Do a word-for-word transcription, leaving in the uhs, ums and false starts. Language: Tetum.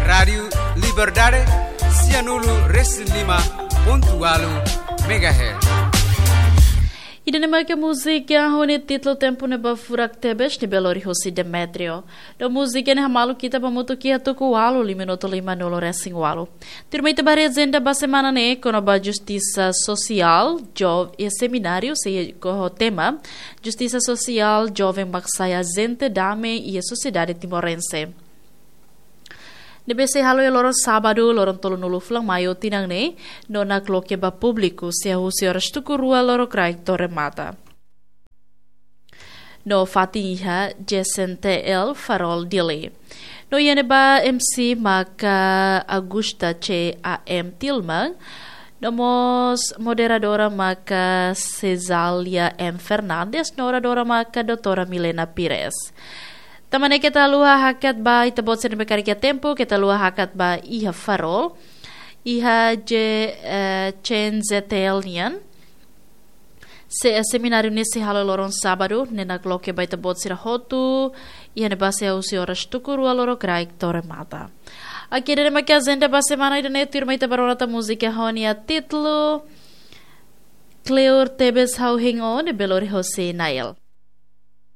Rádiu Liberdade, sianulu resin lima pontu walu megahertz. Ida-ne'e maka múzika ho nia títulu Tempu Ne'ebá Furak Tebes, ne'ebé lori husi Demetrio. No múzika ne'e hamaluk ita ba mutu ki atu ku walu lima minutu lima nulu resin walu. Tuirmai ita ba agenda ba semana ne'e, kona-ba justisa sosiál, jo-, e semináriu sei ho tema, justisa sosiál, joven mak sai ajente dame iha sosiedade timorense. Ne'ebé sei halo iha loron sábadu, loron tolunulu fulan maiu tinan ne'e, no nakloke ba públiku, sei husi oras tuku rua lorokraik to'o remata. No fatin iha J S N T L Farol Dili. No iha ne'ebá M C maka Augusta C A M Tilman, no mós moderadora maka Cesália M Fernandes, no oradora maka doutora Milena Pires. Tanba ne'e keta haluha hakat ba ita-boot sira ne'ebé karik iha tempu, keta haluha hakat ba iha Farol, iha J, eh, C N Z T L nian. Se, eh, semináriu ne'e sei halo loron sábadu, ne'e nakloke ba ita-boot sira hotu, iha ne'ebá sei husi oras tuku rua lorokraik to'o remata. Oke, ida-ne'e maka agenda ba semana ida-ne'e, tuirmai ita ba rona tan múzika ho nia títulu Kleur Tebes Ha'u Hein Ó, ne'ebé lori husi Nael.